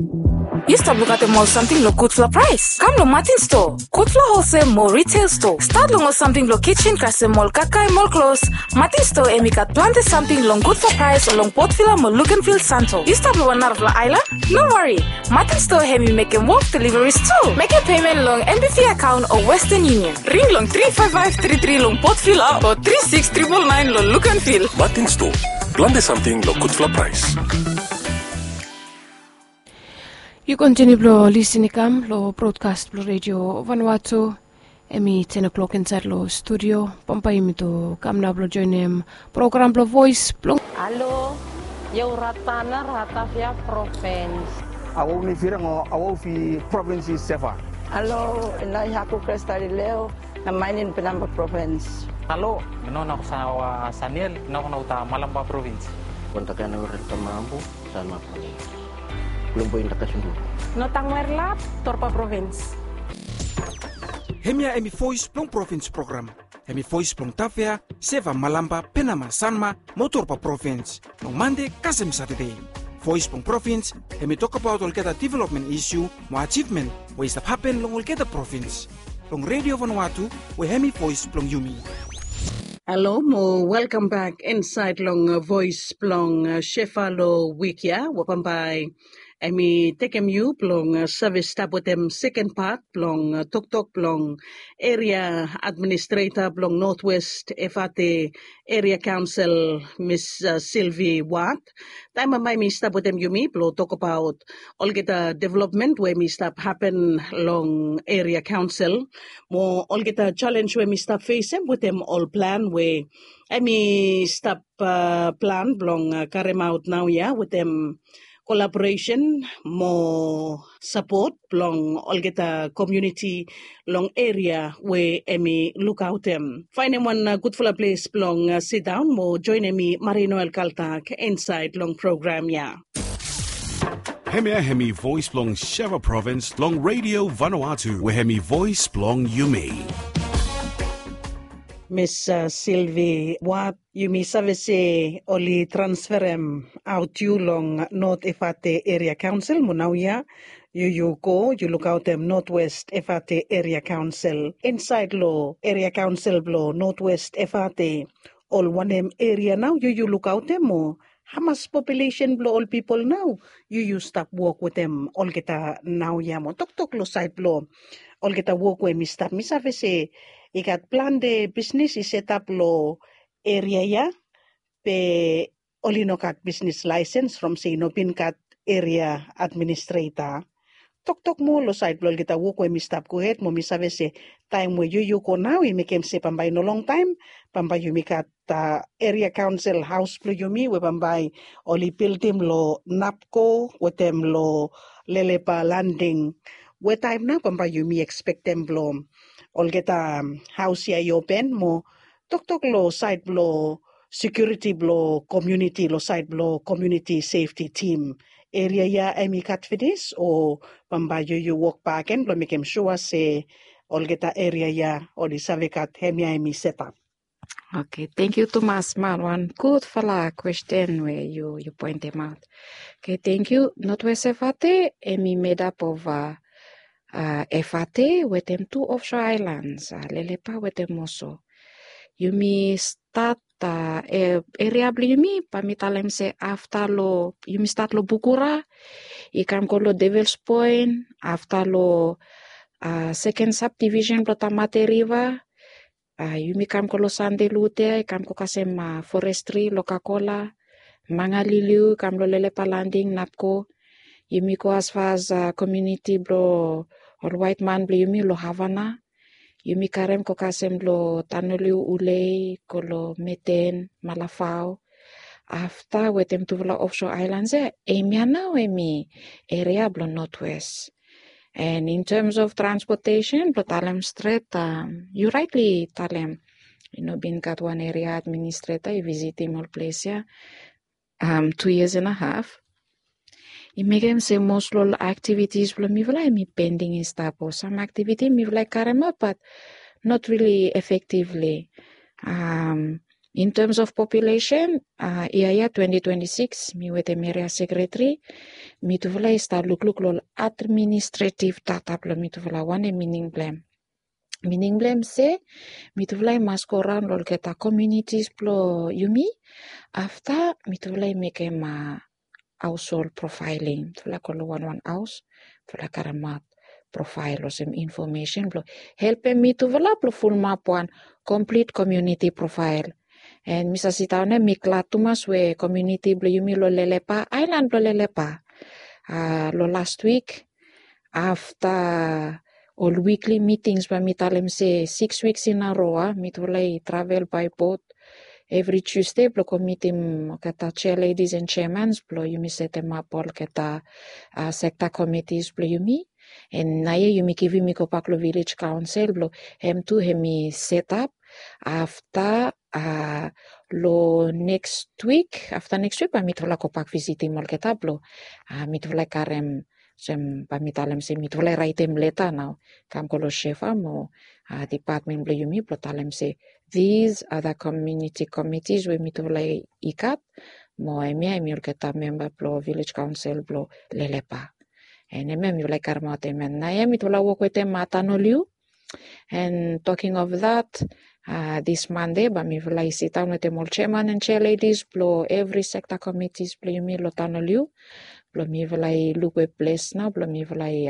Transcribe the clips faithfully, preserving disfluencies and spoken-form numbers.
Yu stap lukaotem ol samting long gudfala praes? Kam long Martin Store, gudfala holsel mo retail store. Stat long ol samting blong kitchen kasem ol kakae mo ol klos. Martin Store hemi gat plante samting long gudfala praes long Port Vila mo Luganville Santo. Yu stap long wan narafala aelan? No wari. Martin Store hemi mekem wok deliveries tu. Mekem pemen long M B V akaon o Western Union. Ring long tri faef faef tri tri long Port Vila o tri siks tripol naen long Luganville. Martin Store, plante samting long gudfala praes. Yu kontiniu blong lisin i kam long brodkas blong Redio Vanuatu. Hemi ten o'clock insaed long studio. Bambae yumi tu kam nao blong joenem program blong Voes blong. Alo, Yau Ratana, Ratavia Provins. Awau ni Firang o Awau fi Provins i Seva. Alo, Inai Haku Kresta Lileo, na Mainin Penamba Provins. Alo, mi no na ko sa wa Saniel, na ko na uta Malamba Provins. Kontakana Urel Tamambu, Sanma Provins. Kulumbu Indaka Sundu. No Tangwer Lap, Torpa Provins. Hemia hemi Voes blong Provins program. Hemi voes blong Tavea, Seva, Malamba, Penama, Sanma mo Torba provins long Mande kasem Satade. Voes blong provins hemi tokbaot olgeta developmen isiu mo ajivmen we i stap hapen long olgeta provins. Long Redio Vanuatu we hemi voes blong yumi. Halo mo welkam bak insaed long voes blong Seva long wik ya we bambae hemi tekem yu blong save stap wetem seken pat blong toktok blong eria administreta blong Notwest Efate Eria Kaonsel, Mis Silvi Wat. Taem bambae mi stap wetem yumi blong tokbaot olgeta developmen we mi stap hapen long eria kaonsel mo olgeta jalenj we mi stap fesem wetem ol plan we hemi stap plan blong karemaot naoia wetem kolaboresen mo sapot blong olgeta komuniti long eria we hemi lukaotem. Faenem wan gudfala ples blong sidaon mo joenem mi, Marie Noel Kaltak, insaed long program ya. Hemia hemi voes blong Seva provins long Redio Vanuatu we hemi voes blong yumi. Mis Silvi Wat, yumi save se oli transferem aot yu long Not Efate Eria Kaonsel mo naoia yu yu go yu lukaotem Notwest Efate Eria Kaonsel. Insaed long eria kaonsel blong Notwest Efate, ol wanem eria nao yu yu lukaotem mo hamas populesen blong ol pipol nao yu yu stap wok wetem olgeta naoia mo toktok long saed blong olgeta wok we mi stap? Mi save se i gat plante bisnis i setap long eria ya, be oli no gat bisnis laesens from se i no bin gat eria administreta. Toktok moa long saed blong olgeta wok we mi stap gohed mo mi save se taem we yu yu go nao i mekem se bambae no longtaem bambae yumi gat eria kaonsel haos blong yumi we bambae oli bildim long Napko wetem long Lelepa Landing. We taem nao bambae yumi ekspektem blong olgeta haos ya i open mo toktok long saed blong sekiuriti blong komuniti long saed blong komuniti sefti tim. Eria ya hemi gat finis o bambae yu yu wok bakegen blong mekem sua se olgeta eria ya oli save gat hemia hemi setap? Oke, tangkiu tumas man, wan gudfala kwesten we yu yu poentemaot. Oke, tangkiu. Notwest Efate hemi medap of Efate wetem tu ofso aelans, Lelepa wetem Oso. Yumi stat eria blong yumi bae mi talem se afta long yumi stat long Bukura i kam go long Devils Point, afta long seken sabdivisen blong Tamate Riva, yumi kam go long Sande Lute, i kam go kasem forestri long Kakola, Mangaliliu i kam long Lelepa Landing, Napko. Yumi go asfas komuniti blong ol waet man blong yumi long Havana. Yumi karem go kasem long Tanoliu, Ulei, go long Meten, Malafao. Afta wetem tufala ofso aelans ya, hemia nao hemi eria blong Notwest. And in terms of transportation blong talem stret, yu raetli talem i no bin gat wan eria administreta i visitim ol ples ya tu yias and a haf. I mekem se mos long ol aktivitis blong mifala hemi pending i stap o sam aktiviti mifala i karemaot bat not rili efektivli. In terms of population, ia ia twenty twenty six, mi wetem eria sekretari, mitufala i stap lukluk long administretiv data blong mitufala. Wanem mining blong em? Mining blong em se mitufala i mas go raon long olgeta komunitis blong yumi. Afta mitufala i mekem haushol profaeling. Mitufala go long wanwan haos, mitufala karemaot profael olsem infomesen blong helpem mitufala blong fulumap wan komplit komuniti profael. En mi save sindaon ya mi glad tumas we komuniti blong yumi long Lelepa, aelan blong Lelepa, long last wik, afta ol wikli mitings, bae mi talem se siks wiks in a roa, mitufala i travel bae bot evri Tusde blong go mitim olgeta chair ladies and chairmans blong yumi setemap olgeta sekta komitis blong yumi. En naoia yumi givim i gobak long vilej kaonsel blong hem tu hem i setap. Afta long neks wik, afta neks wik bae mitufala gobak visitim olgeta blong mitufala i karem, olsem bae mi talem se mitufala i raetem leta nao kam go long SHEFA mo dipatmen blong yumi blong talem se these are the community committees we mitufala i gat, mo hemia hemi olgeta memba blong vilej kaonsel blong Lelepa. En hemia mitufala i karemaot hemia. Naoia mitufala wok wetem Tanoliu. And talking of that, this Monday bae mifala i sidaon wetem ol chairman and chair ladies blong evri sekta komitis blong yumi long Tanoliu blong mifala i luk we ples nao blong mifala i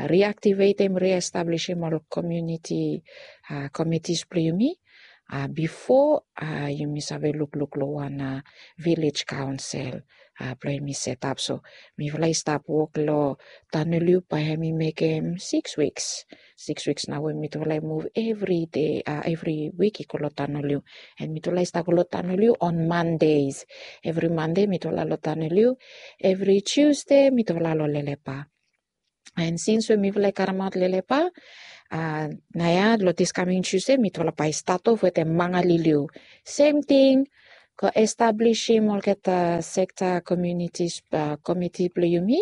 riaktivetem, riestablisim ol komuniti komitis blong yumi bifo yumi save lukluk long wan vilej kaonsel blong yumi setap. So mifala i stap wok long Tanoliu bae hemi mekem siks wiks. Siks wiks nao we mitufala i muv evri dei, evri wik i go long Tanoliu. En mitufala i stap go long Tanoliu on Mondays. Evri Mande mitufala long Tanoliu. Evri Tusde mitufala long Lelepa. En sins we mifala i karemaot Lelepa, naoia long this coming Tusde mitufala bae i stat of wetem Mangaliliu. Sem ting, go establisim olgeta sekta komunitis komiti blong yumi.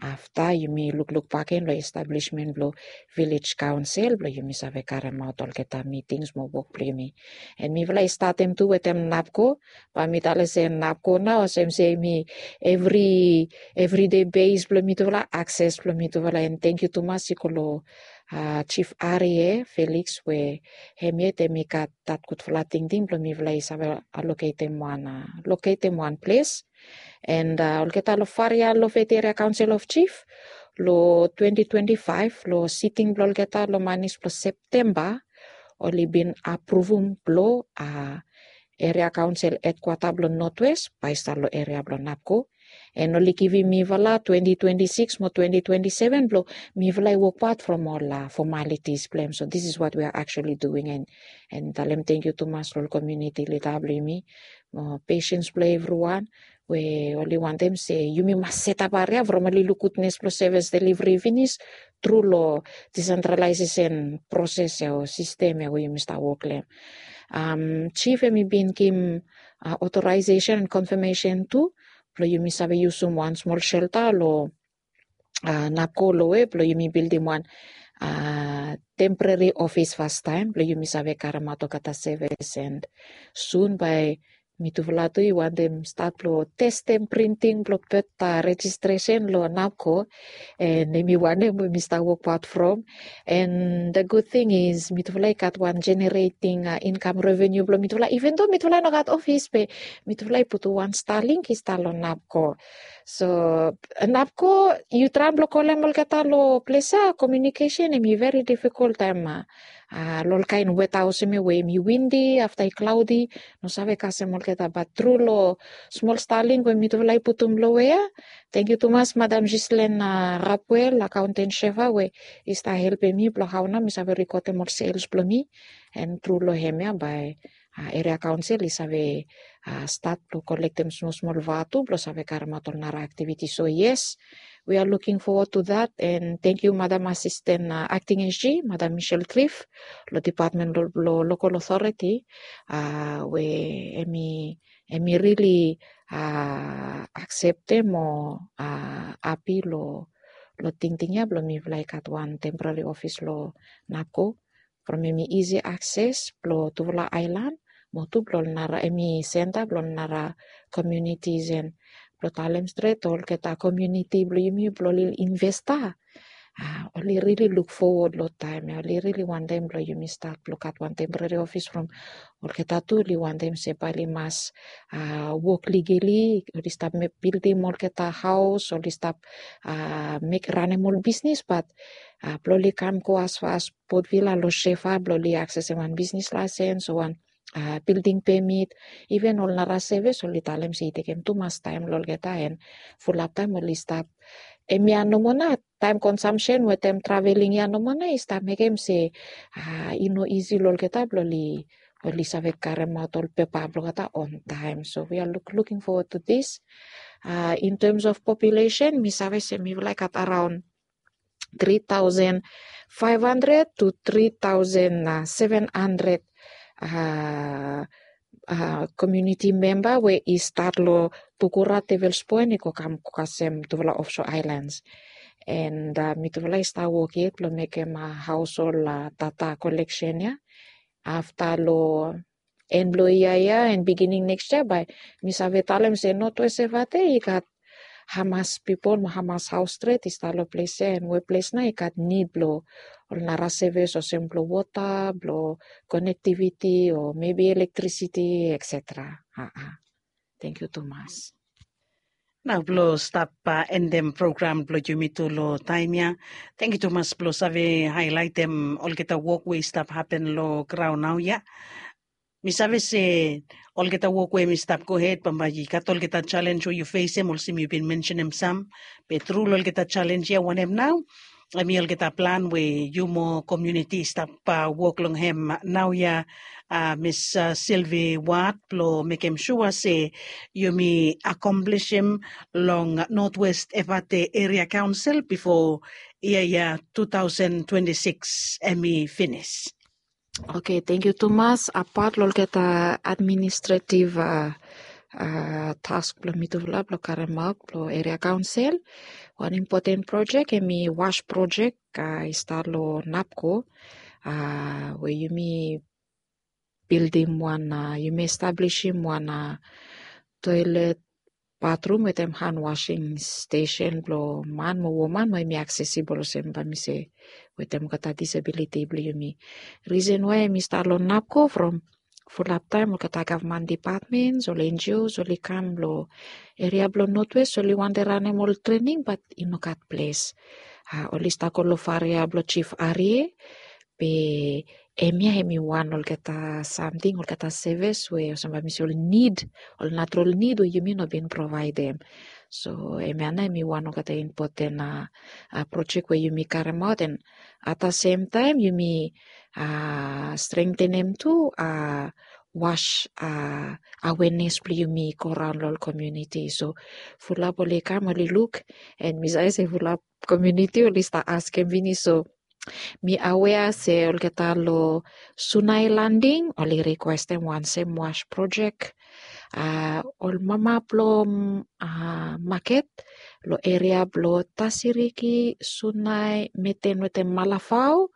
Afta yumi lukluk bakegen long establismen blong vilej kaonsel blong yumi save karemaot olgeta mitings mo wok blong yumi. En mifala i statem tu wetem NAPCO, bae mi talem se NAPCO nao olsem se hemi evri, evridei bes blong mitufala, akses blong mitufala. En tangkiu tumas i go long Chief Arie Felix we hem yet hemi gat that gudfala tingting blong mifala i save aloketem wan, loketem wan ples. And olgeta long Farea Loface Area Council of Chief, long twenty twenty five long siting blong olgeta long manis blong Septemba, oli bin apruvum blong eria kaonsel hedkwata blong Northwest bae i stap long eria blong NAPCO. En oli givim mifala twenty twenty six mo twenty twenty seven blong mifala i wokbaot from ol fomalitis blong hem. So this is what we are actually doing. En talem tangkiu tumas long ol komuniti lida blong yumi mo pesens blong evriwan we oli wantem se yumi mas setap aria from oli luk gudnes blong sevis deliveri finis tru long disentralaesesen proses ya o sistem ya we yumi stap wok long hem. Chief hemi bin givim otoraesesen and konfamesen tu blong yumi save yusum wan smol selta long NAPCO long we blong yumi bildim wan temporary ofis fastaem blong yumi save karemaot olgeta sevis. And sun bae mitufala tu i wantem stat blong testem printing blong birth rejistresen long NAPCO. En hemi wanem we mi stap wokbaot from. And the good thing is mitufala i gat wan generating income revenue blong mitufala, even though mitufala i no gat ofis be mitufala i putum wan Starlink i stap long NAPCO. So NAPCO, yu traem blong kolem olgeta long ples ya, komiunikesen hemi veri difikel taem long ol kaen weta olsem ya we hemi windi afta i klaodi, no save kasem olgeta. Bat tru long smol Starlink we mitufala i putum long we ya, tangkiu tumas Madam Ghislaine Rapuel, akaonten SHEFA, we i stap helpem mi blong hao nao mi save rekodem ol sels blong mi. En tru long hemia bae eria kaonsel i save stat blong kolektem smol smol vatu blong save karemaot ol nara aktiviti. So yes, we are looking forward to that. And tangkiu Madam Asisten Akting SG, Madam Michelle Cliff, long dipatmen blong lokol otoreti we hemi, hemi rili akseptem mo hapi long tingting ya blong mifala i gat wan temporary ofis long NAPCO. From hemi isi akses blong tufala aelan mo tu blong ol nara, hemi senta blong ol nara communities and blong talem stret olgeta community blong yumi blong oli investa. Oli rili luk fowod long taem ya, oli rili wantem blong yumi stat blong gat wan temporary office from olgeta tu oli wantem se bae oli mas wok ligeli, oli stap bildim olgeta haos, oli stap mek ranem ol bisnis, bat blong oli kam go asfa as Port Vila long Shefa blong oli aksesem wan bisnis laesens o wan bilding pemit, iven ol nara sevis oli talem se i tekem tumas taem long olgeta, and fulap taem oli stap. Hemia nomo nao taem konsamsen wetem traveling ya nomo nao i stap mekem se i no isi long olgeta blong oli save karemaot ol pepa blong olgeta on taem. So we are look, looking forward to this. In terms of population, mi save se mifala i gat araon three thousand five hundred to three thousand seven hundred community member we i stat long Pukura, Tewelspoen, i go kam go kasem tufala offshore islands. And mitufala i stap wok yet blong mekem haos ol data koleksen ya. Afta long en blong yia ya and beginning next year bae mi save talem se Northwest Efate i gat hamas pipol mo hamas haos stret i stap long ples ya, and we ples nao i gat nid blong ol nara sevis olsem blong wota, blong connectivity o maybe electricity, et cetera. Tangkiu tumas. Nao blong stap endem program blong yumi tu long taem ya. Tangkiu tumas blong save haelaetem olgeta wok we i stap hapen long graon nao ya. Mi save se olgeta wok we hemi stap gohed bambae i gat olgeta jalenj we yu fesem olsem yu bin mensenem sam. Be tru long olgeta jalenj ya wanem nao hemi olgeta plan we yu mo komuniti i stap wok long hem naoia, Miss Sylvie Ward, blong mekem sua se yumi akomplisim long Northwest Efate Area Council bifo yia ya two thousand twenty-six hemi finis. Oke, tangkiu tumas. Apat long olgeta administrative task blong mitufala blong karemaot blong Area Council, wan impoten projek hemi wash projek i stap long NAPCO, we yumi bildim wan, yumi establisim wan toelet, batrum wetem han wasing stesen blong man mo woman we hemi aksesibol olsem bae mi se wetem olgeta disabiliti blong yumi. Risen wae hemi stap long NAPCO from fulap taem olgeta gavman dipatmens, ol NGOs oli kam long eria blong Northwest, oli wantem ranem ol trening bat i no gat ples. Oli stap go long faria blong Jif Arie, be hemia hemi wan olgeta samting, olgeta sevis we olsem bae mi se ol nid, ol natural nid we yumi no bin provaedem. So hemia nao hemi wan olgeta impoten projek we yumi karemaot, and at the same taem yumi strengtenem tu wash awenes blong yumi i go raon long ol komuniti. So fulap oli kam oli luk, and mi save se fulap komuniti oli stap askem finis. So mi awea se olgeta long Sunai Landing oli rikwestem wan sem wash projek. Ol mama blong maket long eria blong Tasiriki, Sunai, Meten wetem Malafao,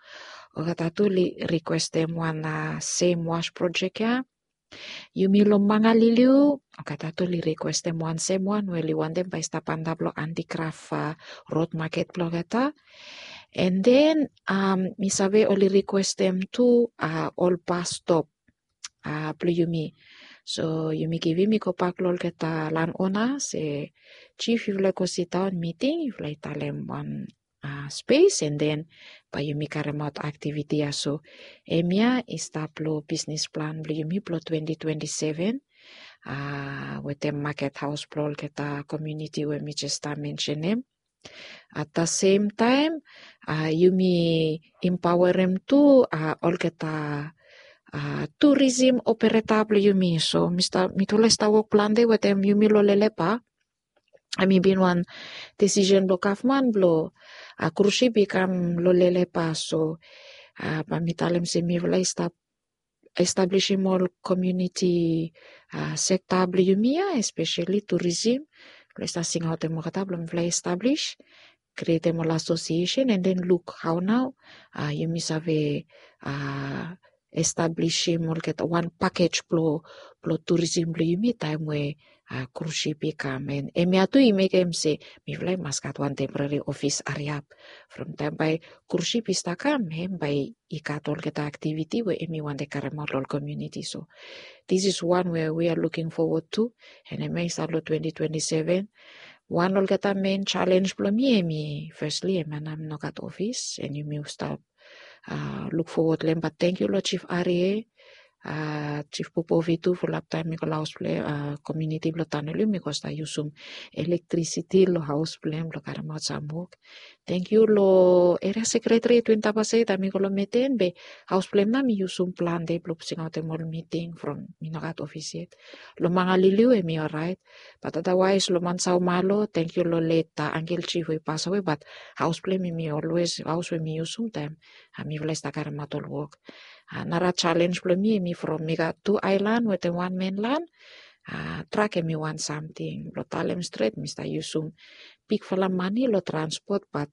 olgeta tu oli rikwestem wan sem wash projek ya. Yumi long Mangaliliu, olgeta tu oli rikwestem wan sem wan we oli wantem bae i stap antap long antigraf rod maket blong olgeta. And then mi save oli rikwestem tu ol bas stop blong yumi. So yumi givim i gobak long olgeta lanona se, Jif, yufala i go sidaon miting, yufala i talem wan spes, and then bae yumi karemaot aktiviti ya. So hemia i stap long bisnis plan blong yumi blong twenty twenty-seven wetem maket haos blong olgeta komuniti we mi jes stap mensenem. At the same taem yumi impaoerem tu olgeta turism opereta blong yumi. So mitufala i stap wok plante wetem yumi long Lelepa. Hemi bin wan desisen blong gavman blong krus ship i kam long Lelepa. So bae mi talem se mifala i stap establisim ol komuniti sekta blong yumi ya, espeseli turism. Mifala i stap singaotem olgeta blong mifala i establis, krietem ol asosiesen, and then luk hao nao yumi save establisim olgeta wan pakej blong blong turisim blong yumi taem we krusip i kam. An hemia tu i mekem se mifala i mas gat wan temporari ofis hariap from taem bae krusip i stap kam, hem bae i gat olgeta aktiviti we hem i wantem karemaot long ol komuniti. So this is one we we are looking forward to. An hemia i stap long twenty twenty seven. Wan olgeta mein jalenj blong mi hem i, fesli hemia nao mi no gat ofis an yumi stap luk fowod long hem. Bat tangkiu long Jif Arie, Jif Popovi tu, fulap taem mi go long haos blong hem, komuniti blong Tanoli, mi go stap yusum elektrisiti long haos blong hem blong karemaot sam wok. Tangkiu long eria sekreteri Twin Tapas Eid, taem mi go long meten be haos blong hem nao mi yusum plante blong pusingaotem ol miting from mi no gat ofis yet. Long Mangaliliu hem i oraet. Bat adawaes long Mansau Malo, tangkiu long let angkel jif we i pasawe, bat haos blong hem hem i olwes haos we mi yusum taem mifala i stap karemaot ol wok. Nara jalenj blong mi hem i from mi gat tu aelan wetem wan menlan. Trak hem i wan samting blong talem stret mi stap yusum bigfala mane long transpot, bat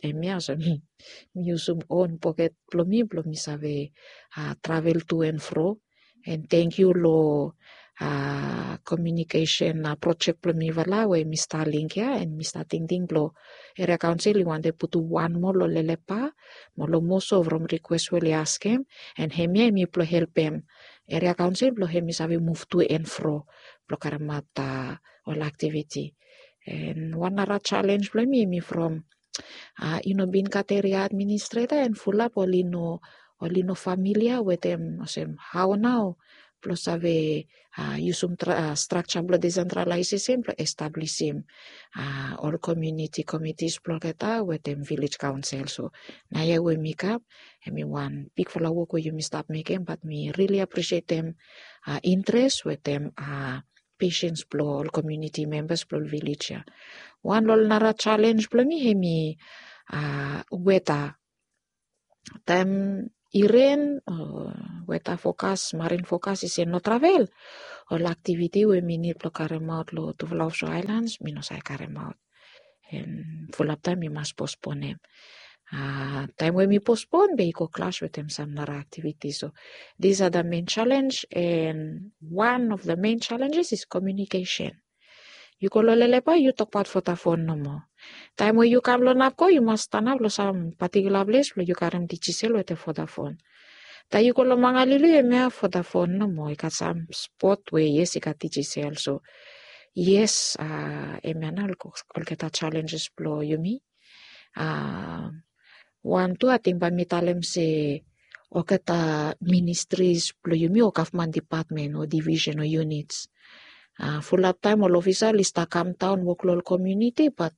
hemia olsem mi yusum on poket blong mi blong mi save travel tu an fro. An tangkiu long komiunikesen projek blong mifala we mi Starlink ya, an mi stap tingting blong eria kaonsel i wantem putum wan moa long Lelepa mo long Moso from rikwes we oli askem. An hemia hem i blong helpem eria kaonsel blong hem i save muv tu an fro blong karemaot ol aktiviti. An wan nara jalenj blong mi hem i from i no bin gat eria administreta an fulap oli no, oli no familia wetem olsem hao nao blong save yusum strakja blong desentralaesesen blong establisim ol komuniti komitis blong olgeta wetem vilej kaonsel. So naoia we mi kam, hem i wan bigfala wok we yumi stap mekem, bat mi rili apresietem interes wetem pesens blong ol komuniti membas blong ol vilej ya. Wan long ol nara jalenj blong mi hem i weta. Taem i ren o weta fokas, marin fokas i se no travel, ol aktiviti we mi nid blong karemaot long tufala ofso aelans mi no save karemaot. An fulap taem mi mas posponem. Taem we mi pospon be i go klas wetem sam nara aktiviti. So these are the main challenge, and one of the main challenges is communication. Yu go long Lelepa, yu tokbaot Vodafone nomo. Taem we yu kam long Napco yu mas stanap long sam patikula ples blong yu karem Digicel wetem Vodafone. Taem yu go long Mangaliliu hemia Vodafone nomo, i gat sam spot we yes i gat Digicel. So yes, hemia nao olgeta challenges blong yumi. Wan tu ating bae mi talem se olgeta ministries blong yumi o gavman dipatmen o divisen o yunits, fulap taem ol ofisa oli stap kamdaon wok long ol komuniti, bat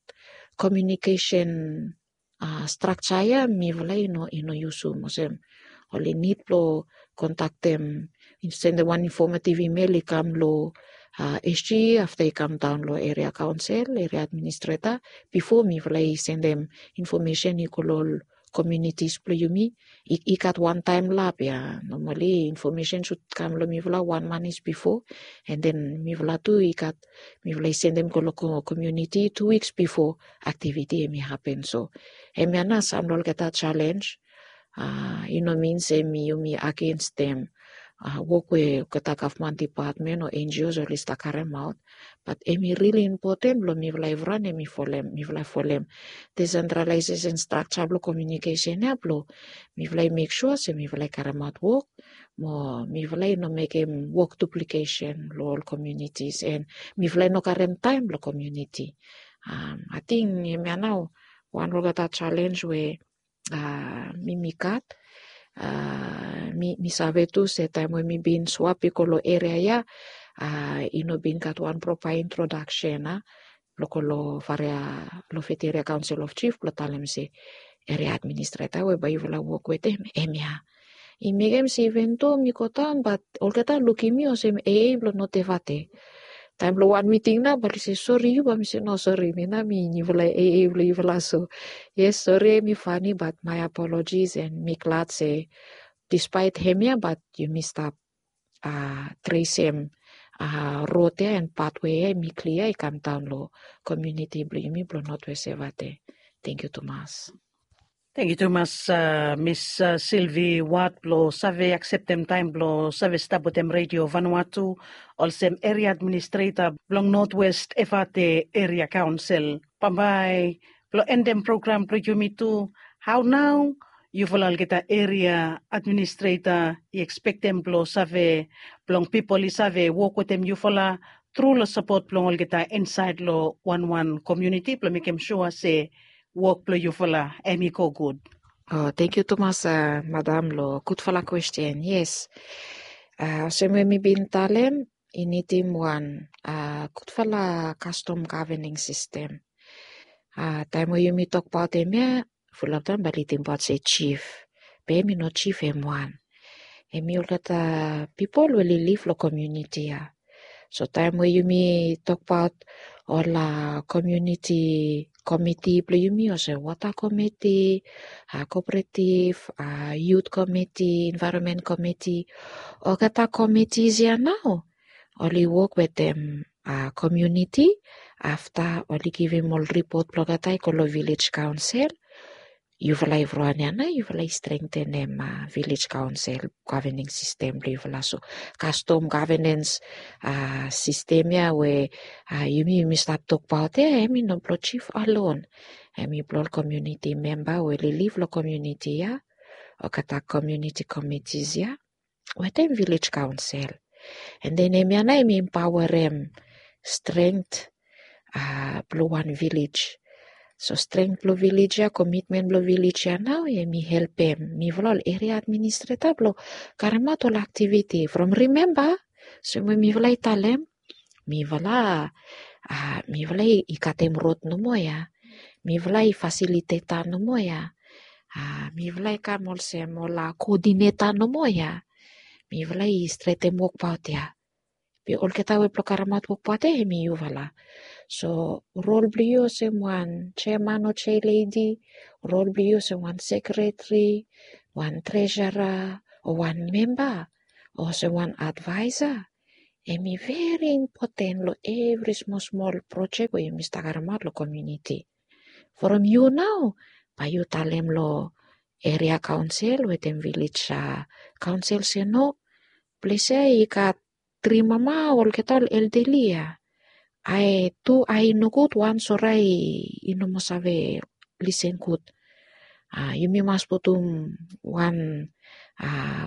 komiunikesen strakja ya mifala i no, i no yusum. Olsem oli nid blong kontaktem, sendem wan informative email i kam long SG, afta i kamdaon long eria kaonsel, eria administreta, bifo mifala i sendem infomesen i go long ol komunitis blong yumi. I gat wan taemlap ya, nomali infomesen sud kam long mifala wan manis bifo, an den mifala tu i gat, mifala i sendem go long komuniti tu wiks bifo aktiviti hemi hapen. So hemia nao sam long olgeta jalenj. I no min se mi, yumi agensem wok we olgeta gavman dipatmen o NGOs oli stap karemaot, bat hemi rili impoten blong mifala evriwan hemi folem, mifala folem desentralaesesen strakja blong komiunikesen ya blong mifala i mek sua se mifala i karemaot wok mo mifala i no mekem wok duplikesen long ol komunitis, an mifala i no karem taem blong komuniti. Ating hemia nao wan olgeta jalenj we mi, mi gat. Mi, mi save tu se taem we mi bin swap i go long eria ya, i no bin gat wan propa introdaksen blong go long Faria, long Federal Council of Chief blong talem se eria administreta we bae yufala wok wetem hemia. I mekem se iven do mi go daon, bat olgeta lukim mi olsem AA blong Norte Vate. Taem blong wan miting nao bae oli se sori yu, bae mi se no, sori, mi nao mi niufala AA blong yufala. So yes, sori hemi fani, bat my apologies, an mi glad se dispaet hemia bat yumi stap tresem rod ya an patwe ya hemi klia i kamdaon long komuniti blong yumi blong Northwest Evate. Tangkiu tumas. Tangkiu tumas, Miss Silvi Wad, blong save akseptem taem blong save stap wetem Redio Vanuatu olsem eria administreta blong Notwest Efate Eria Kaonsel. Bambae blong endem program blong yumi tu, hao nao yufala olgeta eria administreta i ekspektem blong save, blong pipol i save wok wetem yufala tru long sapot blong olgeta insaed long wanwan komuniti blong mekem sua se wok blong yufala em i go gud? O, tangkiu tumas, madam, long gudfala kwesten. Yes, olsem we mi bin talem, i nidim wan gudfala kastom gavening sistem. Taem we yumi tokbaot hemia, fulap taem bae i lidimbaot se jif. Be hem i no jif, hem wan. Hem i olgeta pipol we i liv long komuniti ya. So taem we yumi tokbaot ol komuniti komiti blong yumi, olsem wota komiti, kooperatif, yut komiti, envaeronmen komiti, olgeta komitis ya nao oli wok wetem komuniti. Afta oli givim ol ripot blong olgeta i go long vilej kaonsel. Yufala evriwan ya nao yufala i strengtenem vilej kaonsel gavening sistem blong yufala. So kastom gavenens sistem ya we yumi yumi stap tokbaot ya, hem i no blong jif alon. Hem i blong ol komuniti memba we oli liv long komuniti ya, olgeta komuniti komitis ya wetem vilej kaonsel. An den hemia nao hem i empaoarem strength blong wan vilej. So strength blong vilej ya, komitmen blong vilej ya nao hem i helpem mifala ol eria administreta blong karemaot ol aktiviti from, rimemba, olsem we mifala i talem, mifala mifala i katem rod nomo ya. Mifala i fasiliteta nomo ya. Mifala i kam olsem ol koodineta nomo ya. Mifala i stretem wokbaot ya. Be olgeta we blong karemaot wokbaot ya hem i yufala. So rol blong yu olsem wan jeaman o jealedi, rol blong yu olsem wan sekreteri, wan tresera, o wan memba, o olsem wan advaesa, hem i veri impoten long evri smol smol projek we yumi stap karemaot long komuniti. From yu nao bae yu talem long eria kaonsel wetem vilej kaonsel se no, ples ya i gat tri mama, olgeta ol eldeli ya. Ae tu ae i nogud, wan sore ae i no moa save lisen gud. Yumi mas putum wan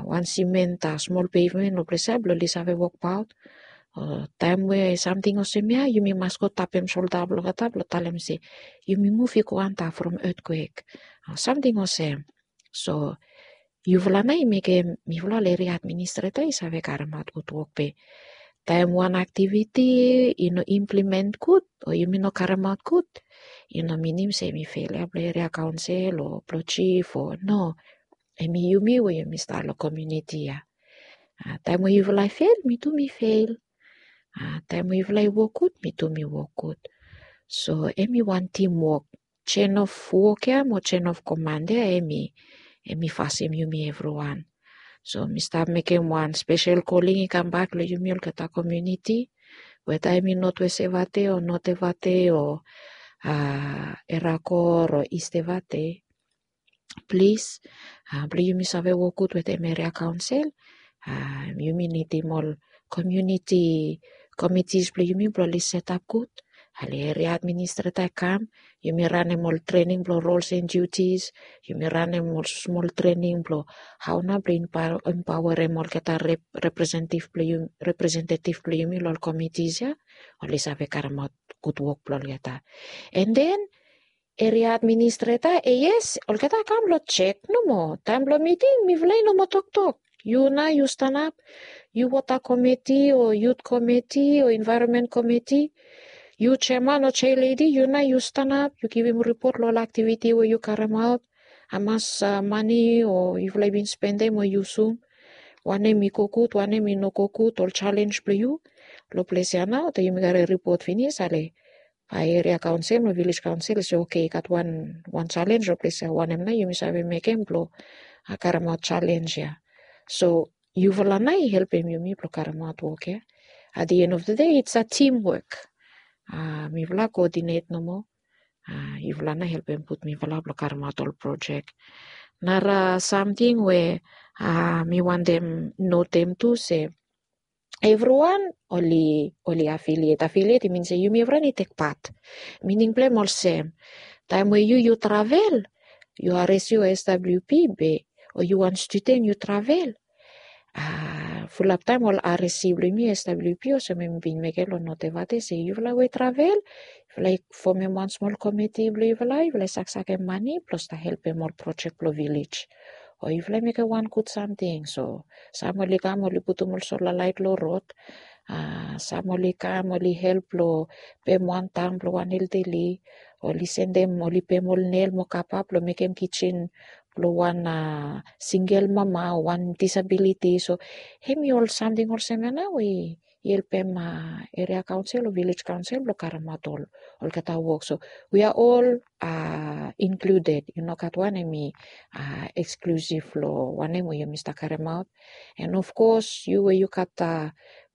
wan simen, smol pevmen long ples ya blong oli save wokbaot. O taem we samting olsem ya yumi mas go tapem solda blong olgeta blong talem se yumi muv i go antap from etkwek, o samting olsem. So yufala nao i mekem mifala ol eria administreta i save karemaot gud wok. Be taem wan aktiviti i no implemen gud o yumi no karemaot gud, i no minim se hem i fel ya blong eria kaonsel o blong jif o no. Hem i yumi we yumi stap long komuniti ya. Taem we yufala i fel, mi tu mi fel. Taem we yufala i wok gud, mi tu mi wok gud. So hem i wan timwok. Jen of wok ya mo jen of koman ya, hem i fasim yumi evriwan. So mi stap mekem wan spesel koling i kambak long yumi olgeta komuniti, weta hem i Notwest Efate o Not Efate o Erakor o Ist Efate. Plis, blong yumi save wok gud wetem eria kaonsel, yumi nidim ol komuniti komitis blong yumi blong oli setap gud. Ale eria administreta i kam, yumi ranem ol trening blong rols and diutis, yumi ranem ol smol trening blong hao nao blong empaoarem olgeta representetiv blong yumi long ol komitis ya, oli save karemaot gud wok blong olgeta. An den eria administreta, e yes, olgeta i kam blong jek nomo. Taem blong miting mifala i no moa toktok. Yu nao yu stanap, yu wota komiti o yut komiti o envaeronmen komiti, yu jeaman o jealedi, yu nao yu stanap, yu givim ripot long ol aktiviti we yu karemaot, hamas mane o yufala i bin spendem o yusum, wanem i go gud, wanem i no go gud, ol jalenj blong yu. Long ples ya nao taem yumi karem ripot finis, ale bae eria kaonsel mo vilej kaonsel i se, oke, i gat wan wan jalenj long ples ya, wanem nao yumi save mekem blong karemaot jalenj ya. So yufala nao i helpem yumi blong karemaot wok ya. At the end of the day it's a teamwork. Mifala koodinet nomo. Yufala na helpem put mifala blong karemaot ol projek. Nara samting we mi wantem notem tu se evriwan oli oli afiliet. Afiliet i min se yumi evriwan i tek pat. Mining blong em olsem, taem we yu yu travel, yu ares yu swp be o yu wan studen yu travel, fulap taem ol ares blong yumi swp olsem mi bin mekem long notevate se yufala we travel, yufala i fomem wan smol komiti blong yufala, yufala i saksakem mane blong stap helpem ol projek blong vilej. O yufala i mekem wan gud samting. So sam oli kam oli putum ol sola laet long rod. Sam oli kam oli help long pem wan tam blong wan eldeli. Oli sendem oli pem ol nel mo kapa blong mekem kisen blong wan singel mama o wan disabiliti. So hemi ol samting olsem ya nao i helpem eria kaonsel o vilej kaonsel blong karemaot ol olgeta wok. So we are ol inkluded. I no gat wan hemi eksklusif long wanem we yumi stap karemaot. And of course yu we yu gat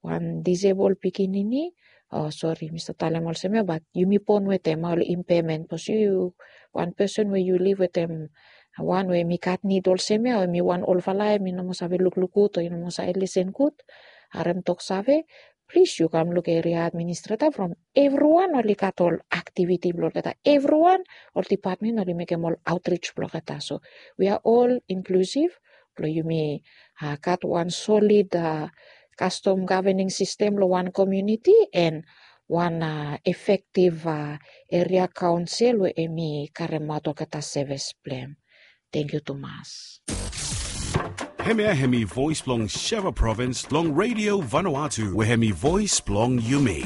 wan disebol pikinini, o sori mi stap talem olsem ya, bat yumi bon wetem ol impamen bikos yu wan pesen we yu liv wetem wan we mi gat nid olsem ya, o mi wan olfala ya mi no moa save lukluk gud o i no moa save lisen gud, harem tok save, plis yu kam luk eria administreta from evriwan oli gat ol aktiviti blong olgeta, evriwan ol dipatmen oli mekem ol aotrij blong olgeta. So we are ol inklusif blong yumi gat wan solid kastom gavening sistem long wan komiuniti en wan efektiv eria kaonsel we em i karemaot olgeta sevis blong em. Tengkiu tumas. Hemia hemi voes blong Sheva provins long Radio Vanuatu we hemi voes blong yumi.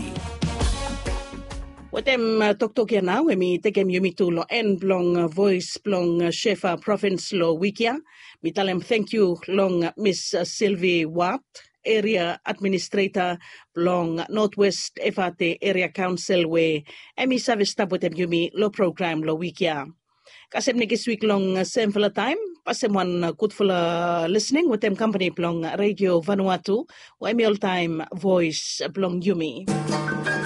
Wetem toktok ya nao em i tekem yumi tu long en blong voes blong Sheva provins long wik ya. Mi talem tengkiu long Miss Silvi Wat, eria administreta blong Notwest Efate Eria Kaonsel we em i save stap wetem yumi long program long wik ya. Kasem nekis wik long semfala taem, pasem wan gudfala lisning wetem kampani blong Radio Vanuatu we em i oltaem voes blong yumi.